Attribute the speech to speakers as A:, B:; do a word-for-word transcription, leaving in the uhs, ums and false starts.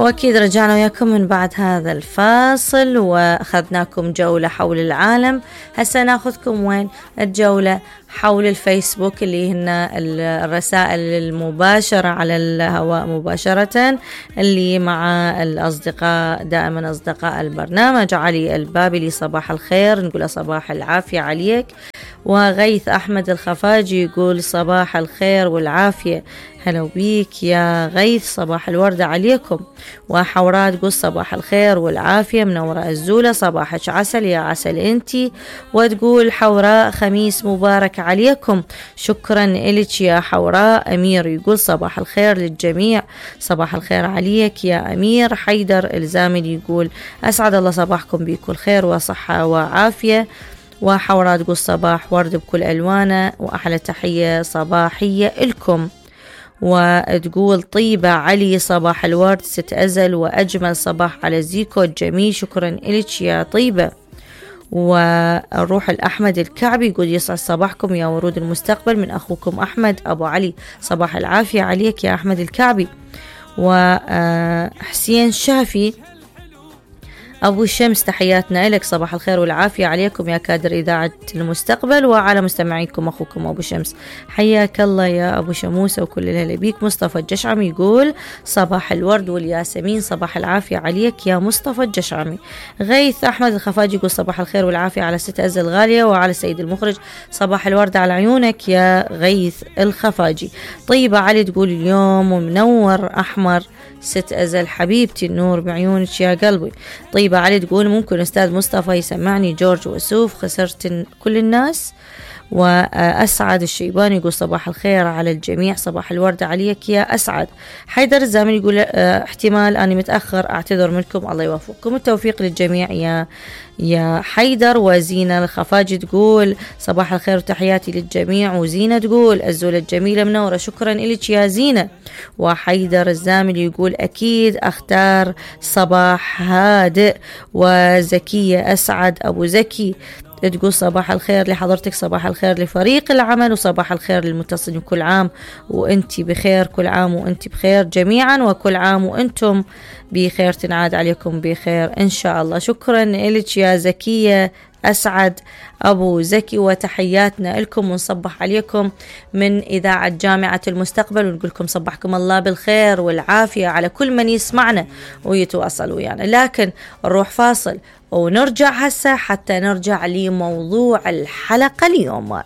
A: وأكيد رجعنا وياكم من بعد هذا الفاصل وأخذناكم جولة حول العالم. هسه ناخذكم وين؟ الجولة حول الفيسبوك اللي هن الرسائل المباشرة على الهواء مباشرة اللي مع الأصدقاء، دائما أصدقاء البرنامج. علي البابلي صباح الخير، نقول صباح العافية عليك. وغيث أحمد الخفاجي يقول صباح الخير والعافية، هلا بيك يا غيث، صباح الوردة عليكم. وحوراء تقول صباح الخير والعافية، منورة الزولة، صباحك عسل يا عسل انتي. وتقول حوراء خميس مبارك عليكم، شكرا إلك يا حوراء. أمير يقول صباح الخير للجميع، صباح الخير عليك يا أمير. حيدر الزامل يقول أسعد الله صباحكم بكل خير وصحة وعافية. وحوراء تقول صباح ورد بكل ألوانه وأحلى تحية صباحية لكم. وتقول طيبة علي صباح الورد ست أزل وأجمل صباح على زيكو الجميل، شكرا إلك يا طيبة. والروح الأحمد الكعبي يقول يسعد صباحكم يا ورود المستقبل من أخوكم أحمد أبو علي، صباح العافية عليك يا أحمد الكعبي. وحسين شافي أبو الشمس تحياتنا لك، صباح الخير والعافية عليكم يا كادر إذاعة المستقبل وعلى مستمعيكم أخوكم أبو شمس، حياك الله يا أبو شموسة وكل الهلا بيك. مصطفى الجشعمي يقول صباح الورد والياسمين، صباح العافية عليك يا مصطفى الجشعمي. غيث أحمد الخفاجي يقول صباح الخير والعافية على ست أزل الغالية وعلى سيد المخرج، صباح الورد على عيونك يا غيث الخفاجي. طيبة علي تقول اليوم منور أحمر ست أزل حبيبتي، النور بعيونك يا قلبي. طيبة علي تقول ممكن أستاذ مصطفى يسمعني جورج وسوف خسرت كل الناس. وأسعد الشيباني يقول صباح الخير على الجميع، صباح الورد عليك يا أسعد. حيدر الزامل يقول احتمال أني متأخر أعتذر منكم، الله يوفقكم، التوفيق للجميع يا يا حيدر. وزينة الخفاجي تقول صباح الخير وتحياتي للجميع. وزينة تقول الزولة الجميلة منورة، شكرا إلك يا زينة. وحيدر الزامل يقول أكيد أختار صباح هادئ. وزكية أسعد أبو زكي تقول صباح الخير لحضرتك، صباح الخير لفريق العمل وصباح الخير للمتصلين، كل عام وانتي بخير، كل عام وانتي بخير جميعا وكل عام وانتم بخير، تنعاد عليكم بخير إن شاء الله. شكرا لك يا زكية أسعد أبو زكي وتحياتنا لكم ونصبح عليكم من إذاعة جامعة المستقبل ونقول لكم صبحكم الله بالخير والعافية على كل من يسمعنا ويتواصل ويانا. لكن نروح فاصل ونرجع هسه حتى نرجع لموضوع الحلقة اليوم.